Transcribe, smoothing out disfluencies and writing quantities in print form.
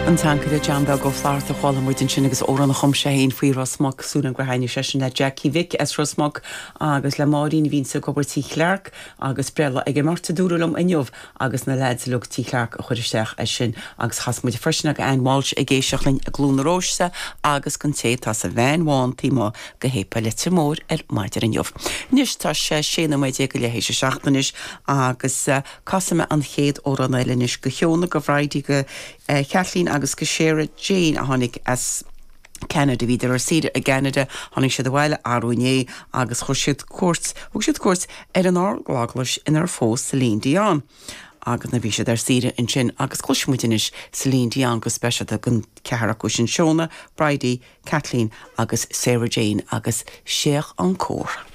An Tancaire John Beag Ó Flatharta a chuala muid ansin agus amhrán a chum sé féin faoi Ros Muc, súil agam gur thaitnigh sé sin le Jackie Mhic as Ros Muc agus le Máirín a bhíonns ag obair Tí Chlarke agus breithlá ag an mbeirt a dúradh liom inniu agus na leaids uilig Tí Chlarke a chuir isteach é sin agus chas muid freisin ag Ann Walsh ag éisteacht linn i gCluain na Róiste agus don té atá sa veain bhán taobh amuigh de shéipéal Leitir Móir ar maidin inniu. Anois tá sé 16 nóiméad go leath théis a 7 anois agus Casfaidh mé an chéad amhrán eile anois go Shióna, go Bhridie, go Kathleen agus go Sarah Jane a tháinig as Ceanada. Bhíodar ar saoire i gCeanada, tháinig siad abhaile arú inné agus chuir siad cuairt, thug siad cuairt ar an Ardeaglais inar phós Celine Dion agus nuair a bhí siad ar saoire ansin agus cloisfidh muid anois Celine Dion go speisialta don cheathrar acu sin, Shióna, Bridie, Kathleen agus Sarah Jane agus Séach Encore.